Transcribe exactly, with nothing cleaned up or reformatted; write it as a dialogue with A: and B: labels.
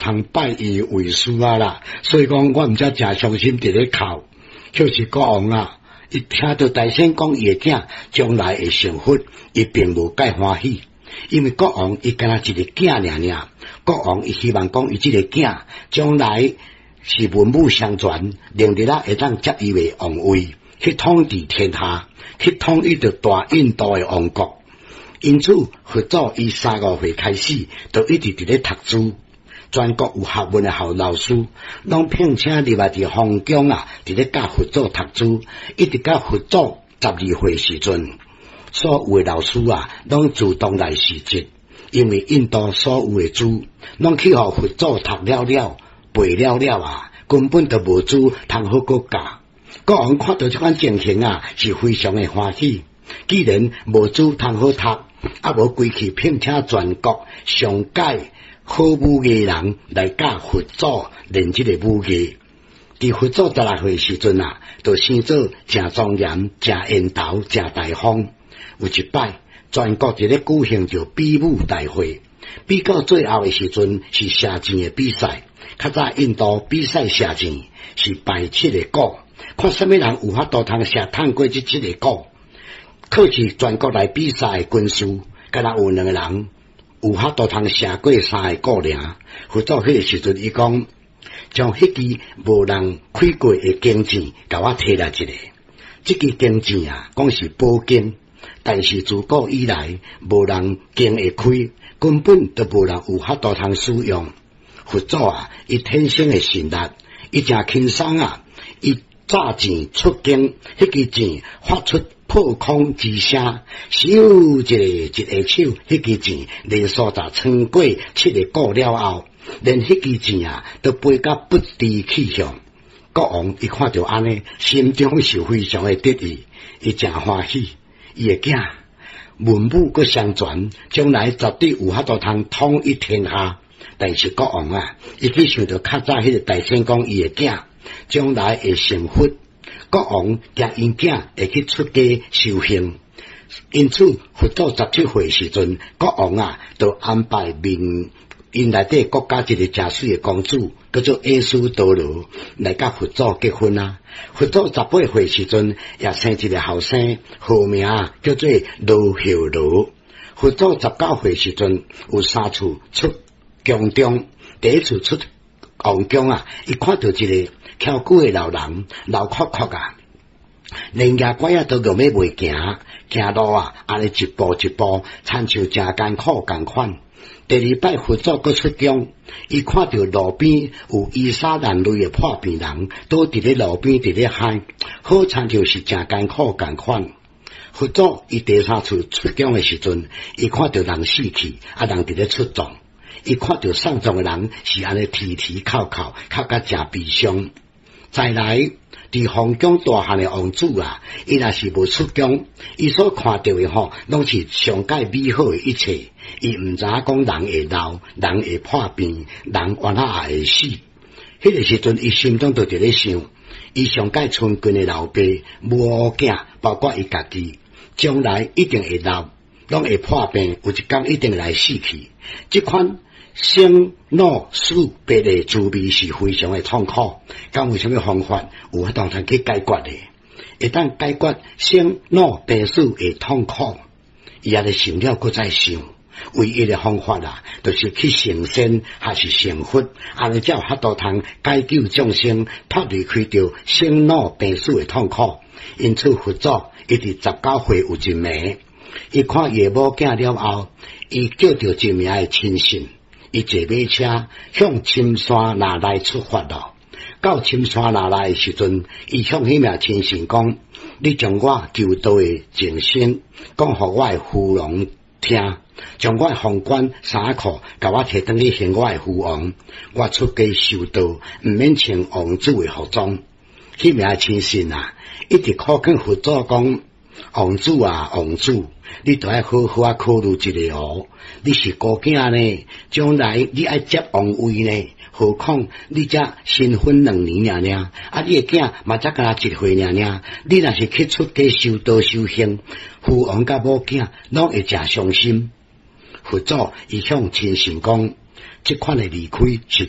A: 通拜伊為師啊啦。所以講，我毋才誠傷心佇咧哭。就是國王啊，伊聽著大仙講伊的囝將來會成佛，伊並無蓋歡喜，因為國王伊敢若一個囝爾爾。國王伊希望講伊這個囝將來是文武雙全，能力啊會當接伊為王位，去統治天下，去統一著大印度的王國。因此，佛祖伊三五歲開始，就一直佇咧讀書。全國有學問的校老師，攏聘請入來佇皇宮啊，佇咧教佛祖讀書，一直到佛祖十二歲時陣，所有的老師啊，攏自動來辭職，因為印度所有的書，攏去予佛祖讀了了、背了了啊，根本就無書通好閣教。國王看著這款情形啊，是非常的歡喜。既然無書通好讀，啊無規氣聘請全國上蓋好武藝人來教佛祖練這个武藝。佇佛祖十六歲時陣啊，就生做誠莊嚴、誠緣投、誠大方。有一擺，全國佇咧舉行著比武大會，比到最後的時陣是射箭的比賽。較早印度比賽射箭是擺七个鼓，看啥物人有法度通射趁過這七個鼓。可是全國來比賽的軍師，敢若有兩个人有法度通射過三个鼓爾。佛祖彼个時陣，伊講將彼支無人開過的弓箭，共我提來一个。這支弓箭啊，講是寶弓，但是自古以來無人弓會開，根本就無人有法度通使用。佛祖啊，伊天生的神力，伊誠輕鬆啊，伊炸箭出弓，彼支箭發出破空之聲，咻一个一下手，彼支箭連續就穿過七个鼓了後，連彼支箭啊都飛甲不知去向。國王伊看著按呢，心中是非常的得意，伊誠歡喜，伊的囝文武閣雙全，將來絕對有法度通統一天下。但是國王啊，伊去想著較早彼个大仙講伊的囝將來會成佛。國王驚𪜶囝會去出家修行，因此佛祖十七歲時陣，國王啊，就安排面𪜶內底國家一个誠媠的公主，叫做耶輸陀羅，來佮佛祖結婚啊。佛祖十八歲時陣，也生一个後生，號名叫做羅睺羅。佛祖十九歲時陣，有三次出宮中，第一次出王宮啊，伊看著一个蹺久的老人，老闊闊啊，連攑拐仔都用欲袂行，行路啊，按呢一步一步，親像誠艱苦仝款。第二擺佛祖閣出宮，伊看著路邊有衣衫襤褸的破病人，倒佇咧路邊佇咧喊，好親像是誠艱苦仝款。佛祖伊第三次出宮的時陣，伊看著人死去，啊人佇咧出葬，伊看著送葬的人是按呢啼啼哭哭，哭甲誠悲傷。再來，佇皇宮大漢的王子啊，伊若是無出宮，伊所看著的吼，攏是上蓋美好的一切。伊毋知影講人會老，人會破病，人原來也會死。彼个時陣，伊心中就佇咧想，伊上蓋親近的老爸、母囝，包括伊家己，將來一定會老，攏會破病，有一工一定會來死去。這款生老死別的滋味是非常的痛苦，敢有啥物方法有法度通去解決的？會當解決生老病死的痛苦，伊也咧想了，閣再想，唯一的方法啊，就是去成仙，還是成佛，按呢才有法度通解救眾生，脫離開著生老病死的痛苦。因此，佛祖伊佇十九歲有一暝，伊看伊的某囝了後，伊叫著一名的親信。伊坐馬車向深山那來出發咯。到深山那來的時陣，伊向彼名親信講：你將我求道的情形講予我的父王聽，將我的皇冠衫褲，共我提轉去還我的父王。我出家修道，毋免穿王子的服裝。彼名親信啊，一直苦勸佛祖講：王子啊，王子，你著愛好好仔考慮一下哦。你是孤囝呢，將來你愛接王位呢？何況你才新婚兩年爾爾，啊，你的囝嘛才敢若一歲爾爾。你若是去出家修道修行，父王佮母囝攏會誠傷心。佛祖伊向親信講：這款的離開實在。